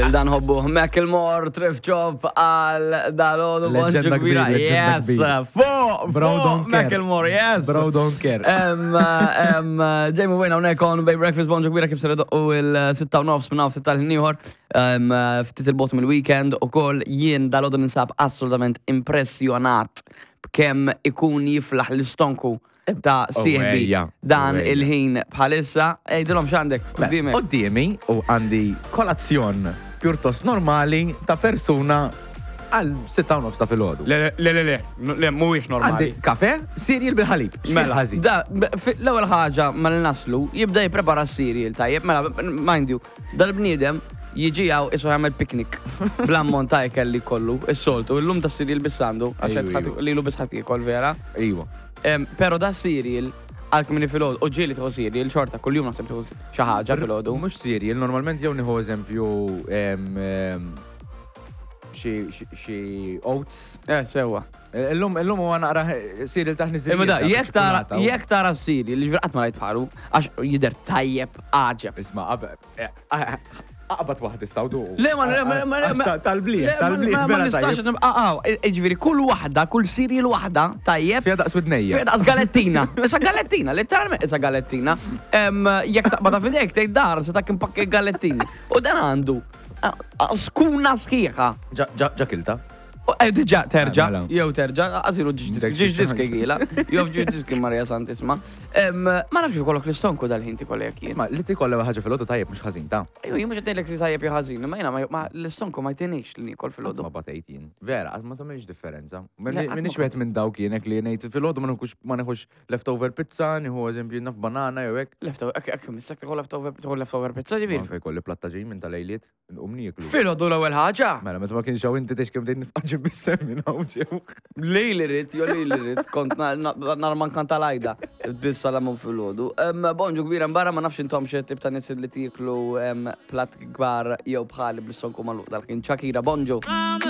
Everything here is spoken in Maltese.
Lil dan ħobbu Macklemore, Thrift Shop għal dalodu Leġenda bonġu kbira. kbir, leġenda Yes, kbir. fuq, Bro fuq don't care. Macklemore, yes. Bro don't care. Jamie Wayne hawnhekk on Bay Breakfast bonġu kbira kif ser idoqqu il-6 u nofs minn hawn tal-ħin ieħor. Ftit il-bot mill-weekend ukoll jien dalodu ninsab assolutament impressjonat b'kemm ikun jiflaħ l-istonku ta' sieħbi Owejja, dan owejja. il-ħin bħalissa. Ejdilhom x'għandek quddiemek. Qoddiemi u għandi kolazzjon pjuttost normali ta' persuna għal 6 u nofs ta' filgħodu. Le, le, le, le, le, mhuwiex normali. Għandi kafe, cereal bil-ħalib. Mela, ħażin. da, l-ewwel ħaġa ma li naslu, jibda jipprepara s-cereal tajjeb, mela, mind you, dal-bniedem jiġi hawn isu jagħmel picnic bl-ammont ta' ikel li kollu, is-soltu, illum ta' cereal biss għandu, għax Ejju, qed ħadd- ejju. lilu biss ħadd jiekol vera. Iwa. Pero da cereal għal kmini filgħodu, u ġieli tieħu cereal xorta kuljum naħseb tieħu xi ħaġa filgħodu. Mhux cereal, normalment jew nieħu eżempju em, em, xi xi- xi oats. Sewwa. Illum illum huwa naqra cereal taħni Imma da, jekk tara jekk tara cereal, li qatt ma rajt bħalu, għax jidher tajjeb għaġeb. Isma' qabel eh, ah, aqbad waħd issa u duqu. Le, ma, le, ma, ma, Għax ma- Tal-bliħ, Le, ma- tal-bliħ, ma- Ma vera nistax tajjeb. nibqa' għaw. Ġifieri, kull waħda, kull cereal waħda, tajjeb. Fija daqs widnejja. Fija daqs galettina. Issa galettina, letteralment issa galettina. Jekk taqbad f'idejk tgħid dar se tak impakki galettini. U dan għandu skuna sħiħa. Ġa ġa kilta. U, Diġà terġa, Mela. jew terġa, għasilu Dik ġiġ xi diski ċans. gila, jew ġiġ diski Maria Santisma. Ma nafx ikollok l-istonku dal-ħin tikolek jien. Isma' li tikolla ħaġa filgħodu tajjeb mhux ħażin ta' Ejju, jien mhux qed ngħidlek li tajjeb jew ħażin, imma jiena l-istonku ma jtinix li niekol Qatt ma filgħodu. batejt jien. Vera, qatt ma tagħmilx differenza. Le, qatt ma Minix wieħed minn dawk jien hekk li ngħid filgħodu ma nieħux ma nieħux leftover pizza, nieħu eżempju naf banana jew hekk. Leftover, ekk, missak tikol leftover, tikol leftover pizza ġifieri. Anke jkolli plattaġin minn tal-lejliet, nqum nieklu. Filgħodu l-ewwel ħaġa. Mela, meta ma kienx hawn inti tgħix kemm bdejt nifqaġi bis-sem minn hawn ġew. Lejli rrit, jo lejli rrit, kont nar man kanta lajda, bil-salamun fil-ħodu. Bonġu kbira mbarra ma nafx intom xie tip ta' nies li tieklu plat kbar jew bħali bl-istonku maluq dal-ħin. Shakira, bonġu.